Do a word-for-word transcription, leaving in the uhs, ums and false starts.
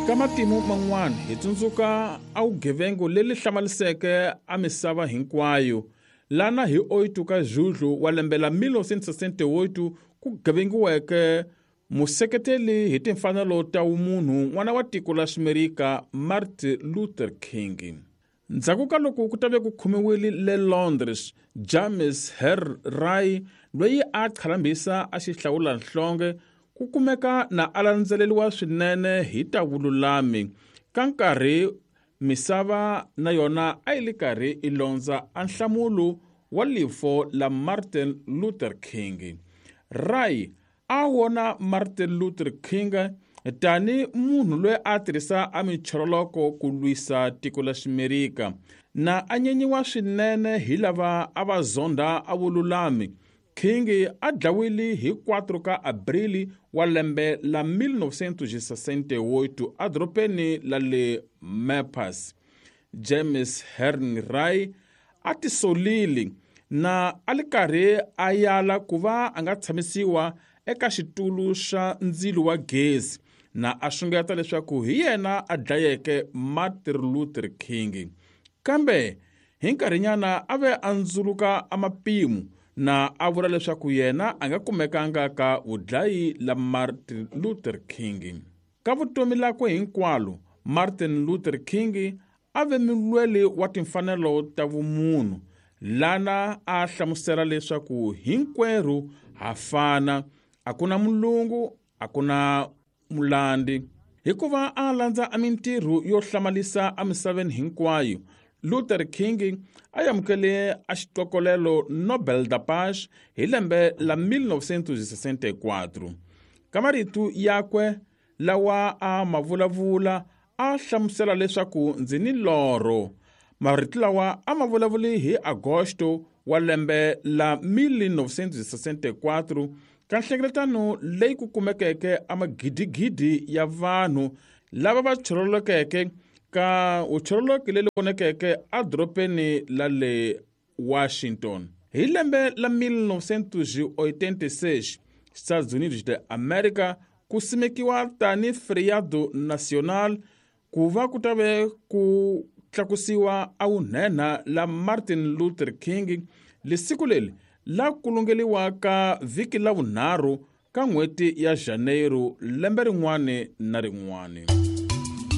Ka matimu man'wana hi tsundzuka a vugevengo leri hlamaliseke a misava hinkwayo lana hi oitu ka Julho wa lembe la mil novecentos e sessenta e oito ku gevengiweke museketeli hi timfanelo ta vumunhu n'wana wa tiko la Ximerika Martin Luther King. Ndzhaku ka loko ku tave ku khomiwile le Londres James Earl Ray loyi a qhalambisa a xihlawulanhlonge ku kumeka na a landzeleriwa swinene hi ta vululami ka nkarhi misava na yona a yi li karhi i londza a nhlamulo wa lifo la Martin Luther King. Ray a wona Martin Luther King tani munhu loyi a tirhisa a minchoroloko ku lwisa tiko la Ximerika na a nyenyiwa swinene hi lava a va zonda a vululami. King a dlawile hi quatro ka Abril wa lembe la mil novecentos e sessenta e oito edorobeni la le Memphis. James Earl Ray a tisolile na a li karhi a yala ku va a nga tshamisiwa eka xitulu xa ndzilo wa gezi na a xungeta leswaku hi yena a dlayeke Martin Luther King. Kambe hi nkarhinyana a ve a ndzuluka a mapimo na a vula leswaku yena a nga kumekanga ka vudlayi la Martin Luther King. Ka vutomi lakwe hinkwalo, Martin Luther King a ve mulweli wa timfanelo ta vumunhu lana a hlamusela leswaku hinkwerhu ha fana, a ku na mulungu, a ku na mulandi. Hikuva a landza a mintirho yo hlamalisa emisaveni hinkwayo, Luther King a amukele a xitokolelo Nobel da Paz hi lembe la mil novecentos e sessenta e quatro. Ka marito yakwe lawa a ma vulavula a hlamusela leswaku ndzi ni lorho. Marito lawa a ma vulavuli hi Agosto wa lembe la mil novecentos e sessenta e quatro ka nhlengeletano leyi ku kumekeke a magidigidi ya vanhu lava va chorolokeke ka vuchoroloki leri vonekeke edorobeni la le Washington. Hi lembe la mil novecentos e oitenta e seis, Estados Unidos de América ku simekiwa tani feriado nacional ku va ku ta ve ku tlakusiwa a vunhenha la Martin Luther King. Lesiku leri la kulungeliwa ka vhiki la vunharhu ka n'hweti ya Janeiro lembe rin'wana na rin'wana.